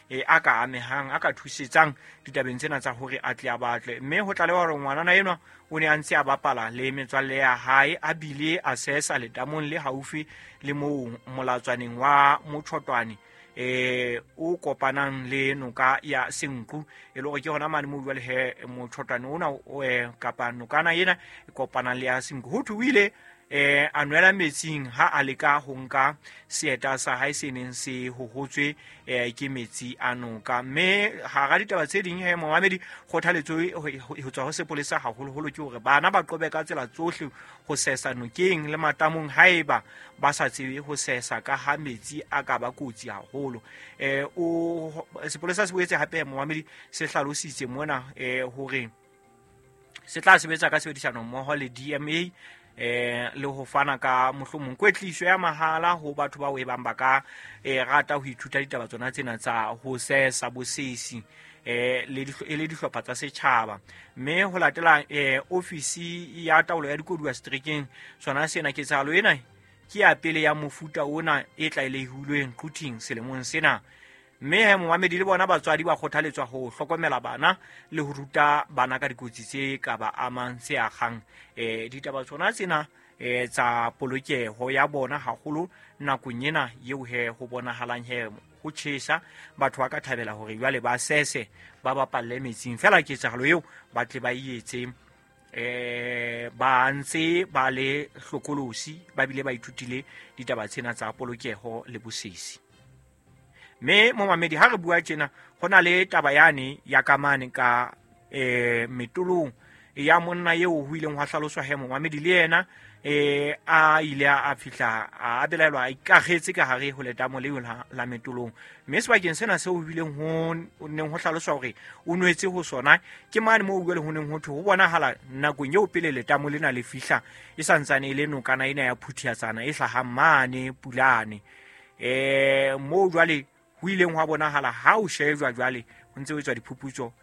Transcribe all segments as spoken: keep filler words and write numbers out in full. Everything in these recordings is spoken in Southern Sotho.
e a ka amehang a ka thusetsang ditabeng tsena tsa hore a tle a batle. Mme ho tlalewa hore ngwanana enwa o ne a ntse a bapala le metswalle ya hae, a bile a sesa letamong le haufi le moo molatswaneng wa Motshotwane eh o kopanang le noka ya Senqu, e le hore ke hona mane moo jwale he Motshotwane ona o kapa nokana ena e kopanang le ya Senqu. Ho thwe o ile eh a nwela metsing ha a leka ho nka seeta sa hae se neng se hohotswe eh ke metsi a noka. Mme hara ditaba tse ding he momamedi, kgothaletso ho tswa ho sepolesa haholoholo ke hore bana ba qobe ka tsela tsohle ho sesa nokeng le matamong haeba ba sa tsebe ho sesa, ka ha metsi a ka ba kotsi haholo. Eh o sepolesa se boetse hape momamedi se hlalositse mona eh hore se tla sebetsa ka tshebedisano mmoho le D M A eh le ho fana ka mohlomong kwetliso ya mahala ho batho bao e bang ba ka eh rata ho ithuta ditaba tsona tsena tsa ho sesa bosesi eh le le dihlopha tsa setjhaba. Mme ho latela eh ofisi ya taolo ya dikoduwa seterekeng sona sena, ketsahalo ena ke ya pele ya mofuta ona e tlalehilweng Quthing selemong sena. Mme he momamedi le bona batswadi ba kgothaletswa ho hlokomela bana le ho ruta bana ka dikotsi tse ka ba amang tse akgang eh ditaba tsona tsena eh tsa polokeho ya bona haholo nakong ena eo he ho bonahalang he ho tjhesa. Batho ba ka thabela hore jwale ba sese ba bapalle metsing, fela ketsahalo eo ba tle ba etse eh ba ntse ba le hlokolosi, ba bile ba ithutile ditaba tsena tsa polokeho le bosesi. Mme momamedi, ha re bua tjena ho na le taba yane ya kamane ka eh metolong ya monna eo ho ileng hwa hlaloswa he momamedi le yena eh a ile a fihla a belaelwa a ikagetse ka hare ho letamo leo la metolong. Mme sebakeng sena seo ho bileng ho neng ho hlaloswa hore o nwetse ho sona ke mane moo jwale ho neng ho thwe ho bonahala nakong eo pele letamo lena le fihla e santsane e le nokana ena ya Phuthiatsana e hlahang mane Pulane. Eh moo jwale ho ileng hwa bonahala ha o shejwa jwale ho ntse ho etswa diphuputso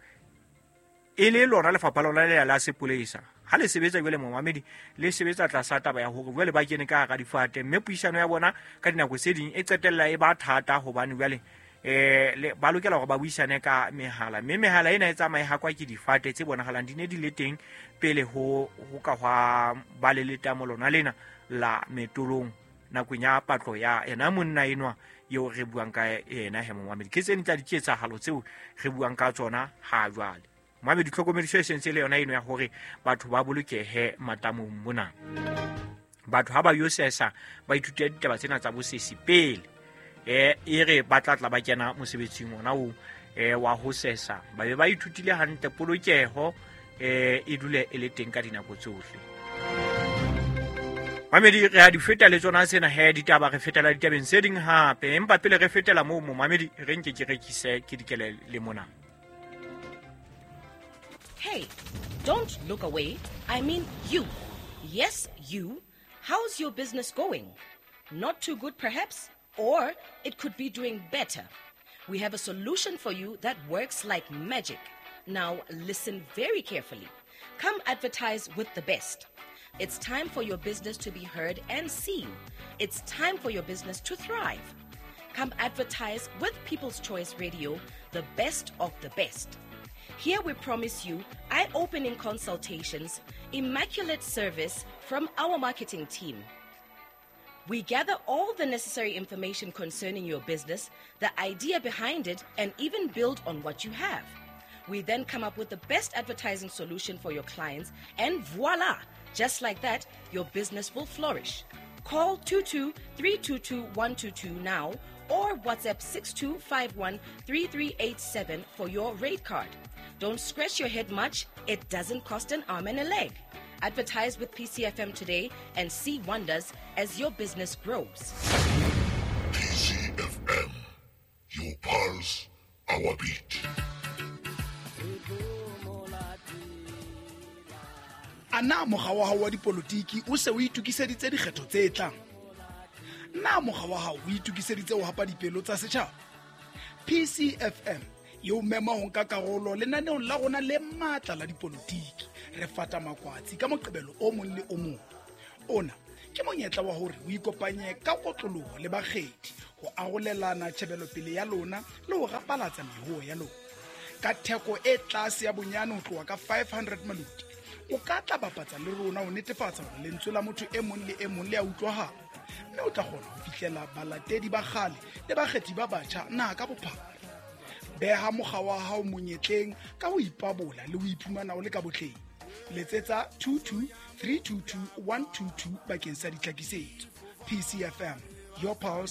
e le lona lefapha lona le la sepolesa ha le sebetsa jwale momamedi le sebetsa tlasa taba ya hore jwale ba kene ka hara difate, mme puisano ya bona ka dinako tse ding e qetella e ba thata hobane jwale eh ba lokela hore ba buisane ka mehala, mme mehala ena e tsamaye ha kwa ke difate tse bonahalang di ne di le teng pele ho ho ka hwa ba le letamo lona lena la metolong nakong ya patlo ya ena monna enwa eo re buang ka yena he momamedi. Ke tse ding tsa diketsahalo tseo re buang ka tsona ha jwale. Momamedi, tlhokomediso e sentse le yona eno ya hore batho ba bolokehe matamong mona. Batho ha ba yo sesa ba ithute ditaba tsena tsa bosesi pele eh e re ba tla tla ba kena mosebetsing ona o eh wa ho sesa, ba be ba ithutile hantle polokeho eh e dule e le teng ka dinako tsohle. Mamedi, re a di feta le tsona tsena he ditaba, re fetela ditabeng tse ding hape, empa pele re fetela moo momamedi re nke ke rekise ke dikele le mona. Hey, don't look away. I mean you. Yes, you. How's your business going? Not too good perhaps, or it could be doing better. We have a solution for you that works like magic. Now listen very carefully. Come advertise with the best. It's time for your business to be heard and seen. It's time for your business to thrive. Come advertise with People's Choice Radio, the best of the best. Here we promise you eye-opening consultations, immaculate service from our marketing team. We gather all the necessary information concerning your business, the idea behind it, and even build on what you have. We then come up with the best advertising solution for your clients, and voila! Just like that, your business will flourish. Call two two three two two one two two now or WhatsApp six two five one three three eight seven for your rate card. Don't scratch your head much. It doesn't cost an arm and a leg. Advertise with P C F M today and see wonders as your business grows. P C F M, your pulse, our beat. Ana mokga wa hao wa dipolotiki o se o itokiseditse dikgetho tse tlang? Na mokga wa hao o itokiseditse ho hapa dipelo tsa setjhaba? P C F M e o mema ho nka karolo lenaneong la rona le matla la dipolotiki. Re fata makwatsi ka Moqebelo o mong le o mong. Ona ke monyetla wa hore o ikopanye ka kotloloho le bakgethi ho arolelana tjhebelopele ya lona le ho rapalatsa mehoo ya lona. Ka theko e tlase ya bonyane ho tloha ka five hundred maloti, o ka tla bapatsa le rona ho netefatsa hore lentswe la motho e mong le e mong le a utlwahala, mme o tla kgona ho fihlela balatedi ba kgale le bakgethi ba batjha naha ka bophara. Beha mokga wa hao monyetleng ka ho ipabola le ho iphumana o le ka botleng. Letsetsa two two three two two one two two bakeng sa ditlhakisetso. P C F M, your pulse,